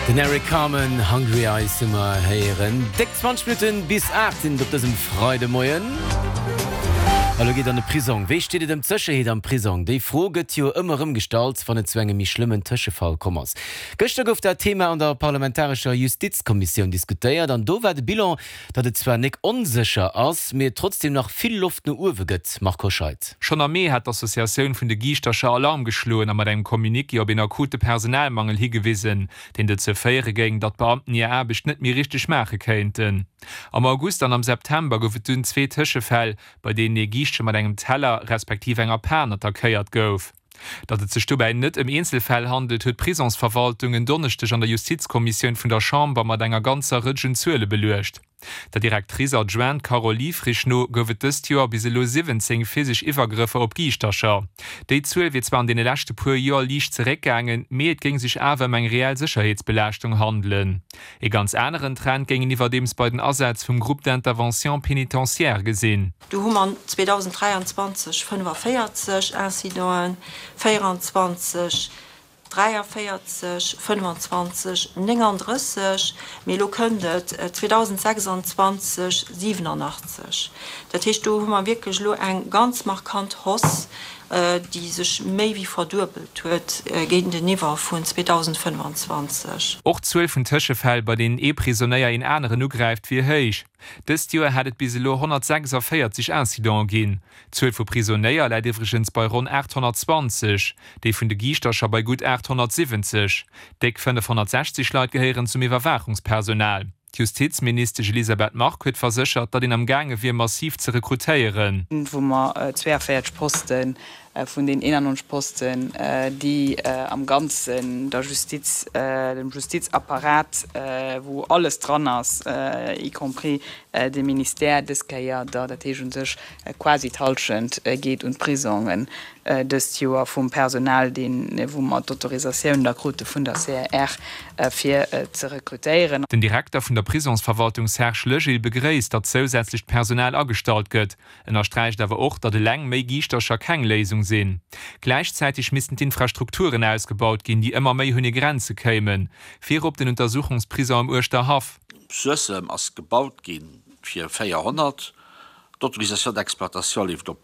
Den Eric Carmen, Hungry Eyes hu mer héieren. Déck 20 Minutten bis 8 sinn et op dësem Freidemoien. A lo geet an de Prisong. Wéi steet et ëm d'Sécherheet am Prisong? Déi Fro gëtt jo ëmmer erëm gestallt, wann et zu engem méi schlëmmen Tëschefall komm ass. Gëschter gouf dat Thema an der parlamentarescher Justizkommissioun diskutéiert an do war de Bilan, datt et zwar nek onsécher ass, mee et trotzdeem nach vill Loft no uewe gëtt. Marc Hoscheid. Schonn am Mee hat d'Associatioun vun de Giischtercher Alarm geschloen a mat engem Communiqué op een akute Personalmangel higewisen, deen dozou féiere géing, datt d'Beamten hir Aarbecht net méi richteg maache kéinten. Am August an am September gouf et dunn zwee Tëschefäll, bei deenen ee Giischtche mat engem Teller respektiv enger Pan attackéiert gouf. Datt et sech dobäi net ëm Eenzelfäll handelt, huet d'Prisonsverwaltung en Donneschdeg an der Justizkommissioun vun der Chamber mat enger ganzer Rëtsch un Zuele beluecht. Der Directrice adjointe Carole Liefrich no gouf et dëst Joer bis elo 17 physesch Iwwergrëffer op Giischtercher. Déi Zuel wier zwar an deene leschte puer Joer liicht zeréckgaangen, mee et géing sech awer ëm eng reell Sécherheetsbelaaschtung handelen. Ee ganz aneren Trend géing een iwwerdeems bei den Asätz vum Groupe d'intervention pénitentiaire gesinn. Do hu mer 2023 45 Incidenten, 24 43, 25, 39, mee elo kënnt et 2026 87. Dat heescht, do hu mer wierklech elo eng ganz markant Hausse, déi sech méi wéi verduebelt huet géinteniwwer vun 2025. Och d'Zuel vun Tëschefäll, bei deenen ee Prisonéier een aneren ugräift, wier héich. Dëst Joer hätt et bis elo 146 Incidente ginn. D'Zuel vu Prisonéier läit iwwregens bei ronn 820, déi vun de Giischtercher bei gutt 870. Déck 560 Leit gehéieren zum Iwwerwaachungspersonal. D'Justizministesch Elisabeth Margue huet verséchert, datt een am gaange wier massiv ze rekrutéieren. wou mer 42 Poste vun den 91 Posten, déi am Ganzen der Justiz, dem Justizapparat, wou alles dran ass, y compris de Ministère, dës Kéier der, dat heescht u sech quasi d'Hallschent geet un d'Prisongen dëst Joer vum Personal, deen, wou mer d'Autorisatioun da krute vun der CAR, fir ze rekrutéieren. Den Direkter vun der Prisonsverwaltung Serge Legil begréisst, datt zousätzlecht Personal agestallt gëtt, ënnersträicht awer och, datt eleng méi Giischtercher keng Léisung sinn. Gläichzäiteg missten d'Infrastrukturen ausgebaut ginn, déi ëmmer méi un hir Grenze kéimen, virop den Untersuchungsprison am Uerschterhaff. Suessem ass gebaut gi fir 400, d'Autorisation d'exploitation leeft op.